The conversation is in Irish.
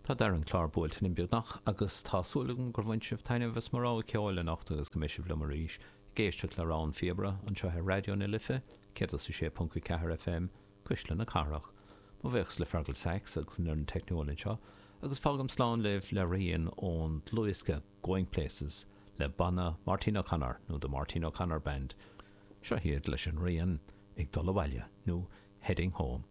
Tá deireadh an chláir buailte linn beagnach agus tá súil agam gur bhain sibh taitneamh as mo rogha ceoil anocht agus go mbeidh sibh liom arís ag éisteacht le Rogha an Phíobaire anseo ar Raidió na Life 106.4 FM, Cuisle na Cathrach. Mo bhuíochas le Fergal Sachs agus an fhoireann teicniúil anseo agus fágaim slán libh le rian ón dlúthdhiosca Going Places le banna Máirtín O'Connor nó The Máirtín O'Connor Band. Seo iad leis an rian Ag Dul Abhaile nó Heading Home.